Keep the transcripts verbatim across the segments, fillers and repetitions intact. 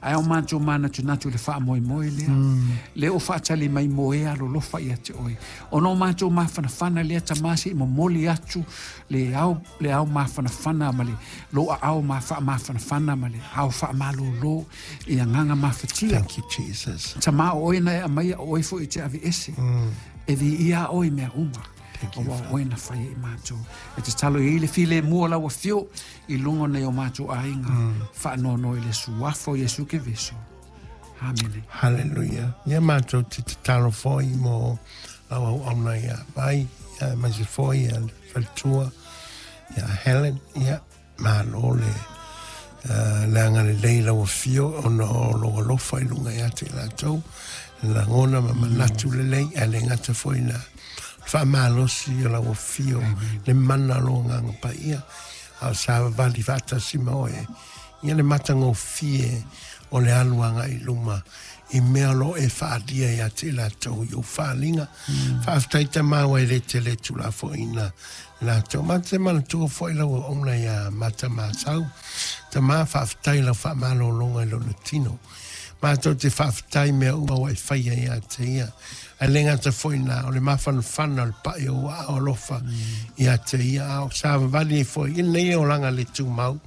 Ae o matou manatunatu i le faamoemoe lea. Lea ua faatali mai mo e alolofa ia te oe. Ona o matou mafanafana lea Tama se i momoli atu le ao, le ao mafanafana ma le lou aao ma faamafanafana ma le ao faamalōlō i agaga mafatia. Thank you, Jesus. Tama o oe na e aumaia o oe foi e te aveese. E viia oe i mea uma. Thank you, Auā o oe na faia i matou. E tatalo i ai le filemu o lau afio i luga o nai o matou aiga. Faanoanoa i le suafa o Iesu Keriso. Amene. Hallelujah. Ia matou te tatalo foi mo lau auauna ia Vai, ia aemaise foi ia le faletua, ia Helen, ia malo le uh, le agalelei lau afio ona o lou alofa i luga ia te i latou, lagona ma manatu lelei, ae le gata foi na faamalosi o lau afio, le mana o lou agaga paia, a o savavali faatasi ma oe, ia le matagofie o le alu agai i luma i mea o lo o e faaalia ia te i latou i ou faaaliga. Faafetai Tama ua e le tele tuulafoaiina latou. Ma te manatua foi lau auauna ia Mata Masau. Tama, faafetai i lau faamalologa i lona tino. Matou te faafetai mea uma ua e faia ia te ia. Ae le gata foi na o le mafanafana o le pai o ou aao alofa ia te ia. A o savavali ai foi i lenei olaga le tumau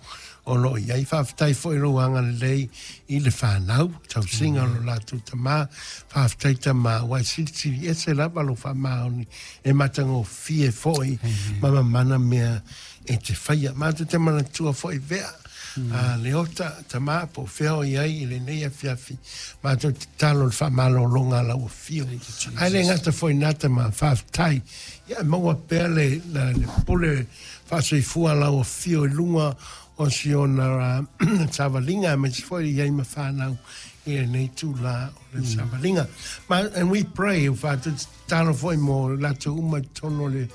o lo o i ai. Faafetai foi i lou agalelei i le fanau, tausiga o lo latou tama. Faafetai Tama, ua e silisili ese lava lou faamaoni e matagofie foi ma mamana mea e te faia. Matou te manatua foi Vea, a Leota, Tama, po o fea o i ai i lenei afiafi. Matou te tatalo i le faamalologa a lau afio. Ae le gata foi i na Tama, faafetai. Ia e maua pea le, le, le pule faasoifua a lau afio i luga o si ona savaliga, aemaise foi i ai ma fanau i lenei itulā o le savaliga. Ma, and we pray, ua tatalo foi mo latou uma i totonu o le,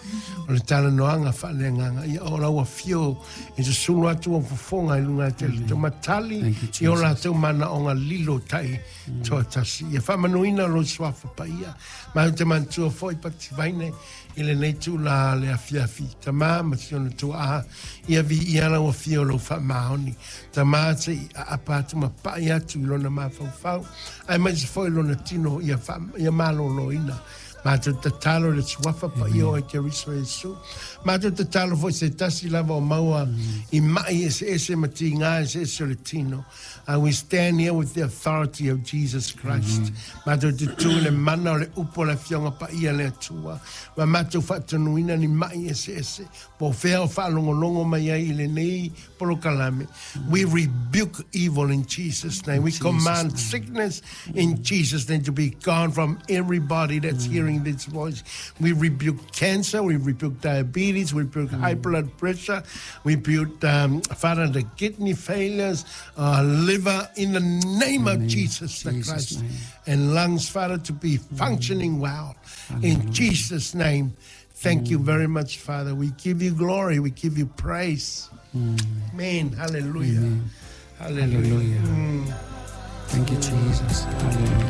o le talanoaga faaleagaga, ia o lau afio e susulu atu ou fofoga i luga te le matali Thank you, i o Jesus. latou manaoga lilo tai toatasi. Ia faamanuina lou suafa paia. Ma ou te manatua foi Pati Vaine i lenei itulā le afiafi. Tama ma si ona tuaa, ia viia lau afio o lou faamaoni. Tama se i aapa atu ma pai atu i lona mafaufau, aemaise foi lona tino ia, fa, ia malōlōina. Matou tatalo i le suafa paia o Keriso Iesu. Matou tatalo foi se tasi lava o maua i mai eseese ma tiga eseese o le tino. Uh, we stand here with the authority of Jesus Christ. Matou te tu i le mana o le upu o le afioga paia le Atua. Ma matou faatonuina ni mai eseese. Po o fea o faalogologo mai ai i lenei polokalame. We rebuke evil in Jesus' name. We Jesus' command name. sickness in Jesus' name to be gone from everybody that's hearing this voice. We rebuke cancer, we rebuke diabetes, we rebuke high blood pressure, we rebuke, um, Father, the kidney failures, uh, liver, in the name of name- Jesus the Jesus' Christ, name. and lungs, Father, to be functioning well. In Jesus' name, thank you very much, Father. We give you glory, we give you praise. Amen. Hallelujah. Hallelujah. Hallelujah. Thank you, Jesus. Hallelujah.